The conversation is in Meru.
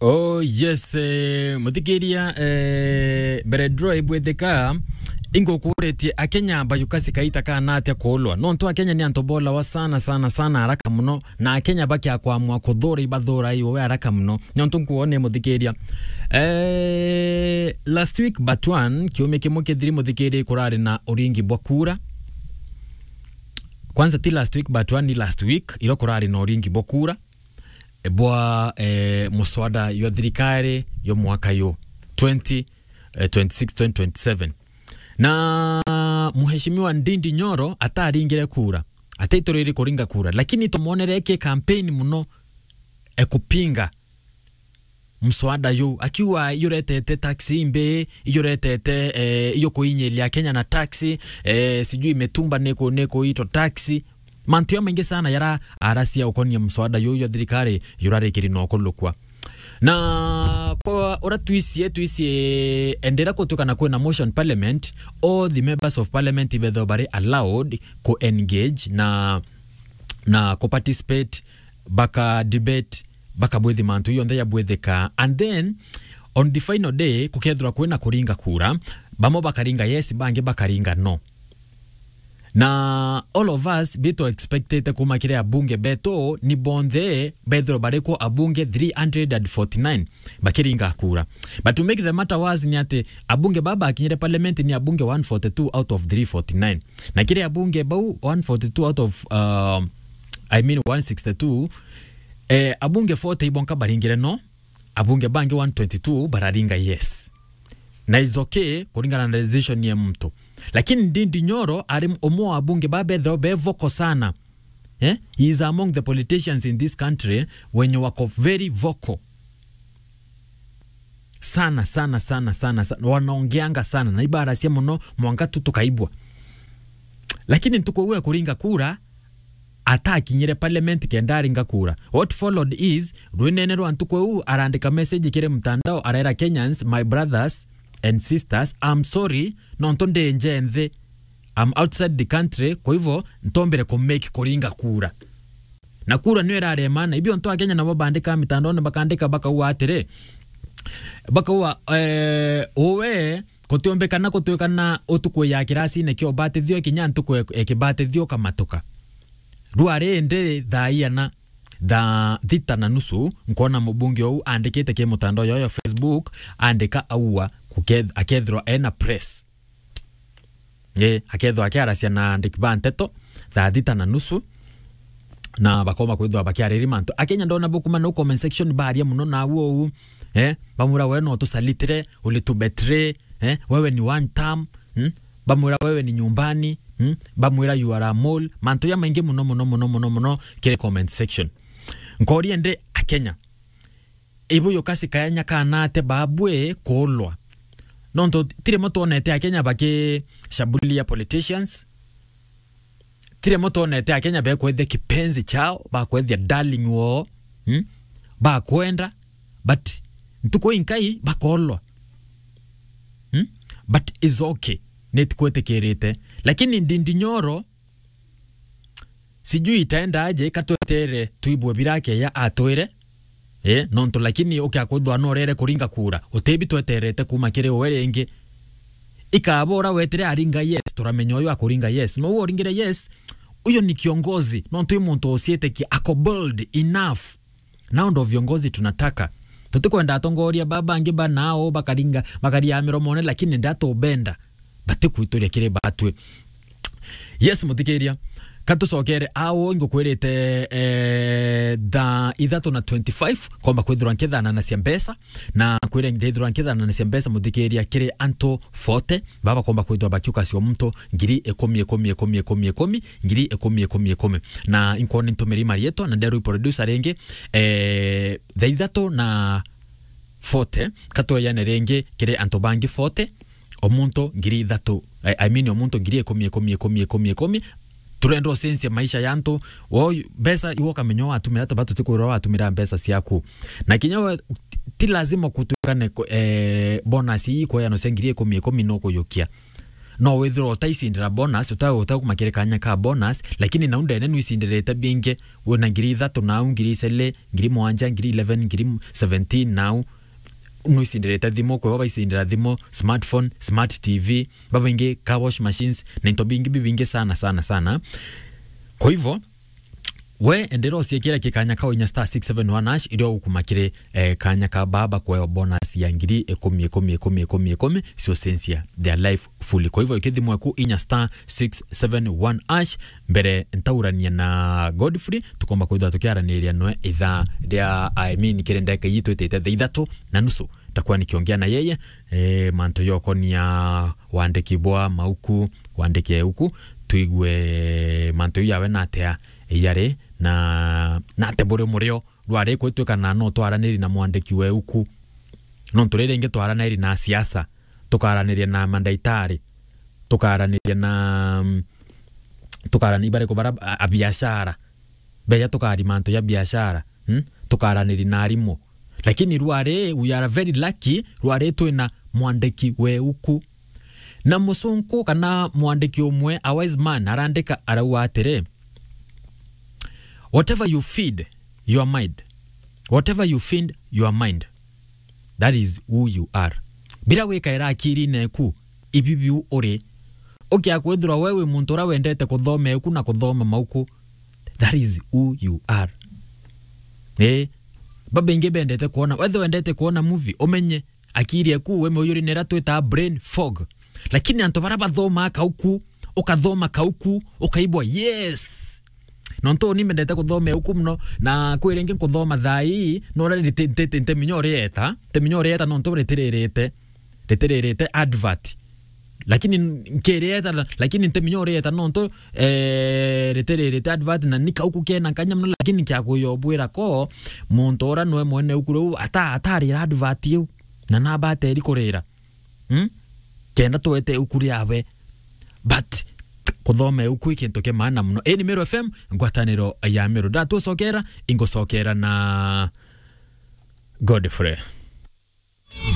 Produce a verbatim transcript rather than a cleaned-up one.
Oh yes, eh, muthikiria, eh, mbere draw ibwithika, ingukuritie Akenya bayukasi kaita kana atia kuulwa? Nontu Akenya ni antu bolawa sana, sana, sana, haraka muno, na Akenya bakia kwamua kuthura ibathura iwe haraka muno. Nontu nkuone muthikiria. Eh, last week but one, kiumia kimwe kithiri muthikiria kurari na uringi bwa kura. Kwanza ti last week but one, ni last week, iro kurari na uringi bwa kura bwa, eh, muswada yo thirikari yo mwaka yo twenty, eh, twenty-six, twenty twenty-seven. Na Mheshimiwa Ndindi Nyoro ataringire kura, ataitoriri kuringa kura, lakini tumwonere eke campaign muno, ekupinga mswada yu, akiuga ijuretete taxi imbi, ijuretete, eh, ijukuinyiria Kenya na taxi, eh, sijui mitumba niku-, nikuitwa taxi. Mantu ya maingi sana yara arasia ukonia mswada yu ya thirikari yurarikiri no kulukwa. Na kwa ura twisie, twisie endera kutuka na kwina motion parliament, all the members of parliament ibethwa bari allowed ku engage na, na ku participate, baka debate, bakabwithi mantu yonthe yabwithika. And then, on the final day, kukethirwa kwina kuringa kura, bamwe bakaringa yes, bangi bakaringa no. Na all of us, bitu expectete kuma kiri abunge betu, ni bonthe, bethirwa bari ku abunge three hundred and forty-nine bakiringa kura. But to make the matter worse ni ati abunge baba bakinyire parliament ni abunge one forty-two out of three forty-nine. Na kiri abunge bau one forty-two out of, uh, I mean one sixty-two, eh, abunge forty ibonka baringire no, abunge bangi one twenty-two bararinga yes. Na is okay kuringana na decision ya mtu. Lakini Ndindi Nyoro ari umwe wa abunge babetheo be vocal sana. Eh? He is among the politicians in this country wenye wako very vocal. Sana, sana, sana, sana, sana. Wanaongeanga sana. Na ibarasia muno, mwanka tu tukaibwa. Lakini ntuku iu ekuringa kura, atakinyire parliament kenda aringa kura. What followed is, rwinene rwa ntuku iu, arandika message kiri mtandao, arera Kenyans, my brothers and sisters, I'm sorry, nontu ndi nje nthi. I'm outside the country, kwa hivyo, ntombire ku make kuringa kura. Na kura niyo irarema, na ibio ntu Akenya nabo bandika mitandaone, bakandika bakauga atiri, bakauga, eh, uwe, kutiombekana kutwikana utuku ya kirasine kia ubatithio kinya ntuku ya, ya kibatithio kamatuka. Rwari indi thaa iana, thaa thita na nusu, nkona mubunge ou andikite ki mutandao yoyo Facebook, andika aua, kuketh-, akethirwa ena press. Eh, akethwa akiaracia na andiki ba nteto thaa thita na nusu, na bakoma kwithwa bakiariri mantu. Akenya ndona bukuma no comment section baria muno na uo u, eh, bamwira we no tusalitire, ulitubetray, eh, wewe ni one term, hmm? Bamwira wewe ni nyumbani, hmm? Bamwira you are a mole. Mantu ya maingi muno, muno, muno, muno, muno kiri comment section. Nkoria ndi Akenya, ibu yukasi kayanya kana ate babwe kuulwa. Nontu ti rimwe twonete Akenya bakishambulia politicians. Ti rimwe twonete Akenya bekwethia kipenzi chao, bakwethia darling woo, hmm? Bakwenda, but ntuku inkai bakoolwa. Hmm? But is okay. Nitikwitikirite. Lakini Ndindi Nyoro, sijui itaenda aje, katwetere tuibwe birakeya atwire. Eh, nontu lakini ukia kwithwa norere kuringa kura, utibi tweterete kuma kiri uwe ringi. Ikabora wetire aringa yes, turamenya uyu akuringa yes. No uwo uringire yes, uyo ni kiongozi, nontu i muntu uciitikia, ako bold enough. Nao ndo viongozi tunataka. Tutikwenda atongoria baba bangi ba nao bakaringa, bakaria miromone, lakini ndatubenda. Batikwituria kiri batwi. Yes, muthikiria. Katucokere ao ngukwirite, eh, thaa ithatu na twenty-five, komba kwithirwa nkithananacia mbeca, na kwire ndithirwa nkithananacia mbeca, muthikiria, kiri antu forty, baba komba kwithirwa bakiukacia muntu ngiri ikumi, ikumi, ikumi, ikumi, ikumi, ngiri ikumi, ikumi, ikumi. Na inkoni ntumiri marietwa, na nderwi producer ringi, eh, thaa ithatu na forty, katweyane ringi kiri antu bangi forty, o muntu ngiri ithatu, I, I mean, o muntu ngiri ikumi, ikumi, ikumi, ikumi, ikumi. Turenda ucenjia maisha ya antu. Wo mbeca iwe ukamenya watumira ata, batu tikwirwa watumira mbeca ciaku. Na kinya we, ti lazima kutuikane ku-, eh, bonus ii kweyanwa cia ngiri ikumi, ikumi nukuyukia. No withirwa utaicindira bonus, uta-, utakumakire kanya ka bonus, lakini nau ndene nuicindirite bingi, wina ngiri ithatu nau, ngiri icele, ngiri mwanja, ngiri eleven, ngiri seventeen nau. Nuicindirite thimu, kwi bo baicindira thimu, smartphone, smart T V, babaingi car wash machines, na into bingi bibingi sana, sana, sana. Kwa hivyo, we endera uciekera ki kanya ka inya star six seven one hash, iria ugukumakire, eh, kanya ka baba kuewa bonus ya ngiri ikumi, ikumi, ikumi, ikumi, ikumi, cio censia their life fully. Kwa hivyo, ikithimwe ku inya star six seven one hash, mbere ntaurania na Godfrey, tukomba kwithirwa tukiaraniria nwe ithaa ria, I mean, kiri ndeka ii twitite thaa ithatu na nusu, takuwa nikiongea na yeye, eh, mantu yokonia wandiki bwa mauku, wandiki euku, tuigue mantu yawe natea yari na, na ate buri murio rwari kwitwika na no twaraniri na mwandiki we uku. Nontu riri ringi twaraniri na siasa, tukaraniria na mandaitari, tukaraniria na, mm, tukarani bari kubara a, a biashara. Beja tukari mantu ya biashara, mm? Tukaraniri na arimu. Lakini rwari, we are very lucky, rwari twina mwandiki we uku. Na musunku kana mwandiki umwe, a wise man, arandika arauga atiri, "Whatever you feed your mind, whatever you feed your mind, that is who you are." Bira wikaira akirine eku, ibi biu uri. Ukia kwithirwa we wi muntu uria wendete kuthoma eku na kuthoma mauku, that is who you are. Eh, babaingi bendete kuona, wethe wendete kuona movie, umenye akiri eku we muyuri nira twita brain fog. Lakini antu bara bathoma kauku, ukathoma kauku, ukaibwa, yes. Nontu ni mbendete kuthoma uku muno, na kwi ringi nkuthoma thaa ii, no rari nte-, nte-, nte-, nteminya urieta, nteminya urieta nontu ritiririte, ritiririte advert. Lakini nkirieta, lakini nteminya urieta nontu, eh, ritiririte advert, na ni kauku kena nkanya muno, lakini kia kuyobwira ko, muntu ura nwe mwene uku riu ata-, atarira advert iu, na naba ateri kurira. Hmm? Kenda twete uku riawe. But kuthoma uku i kintu kia maana muno. Ii ni Meru F M, ngwataniro ya Meru. Ndatucokera, ingucokera na Godfrey.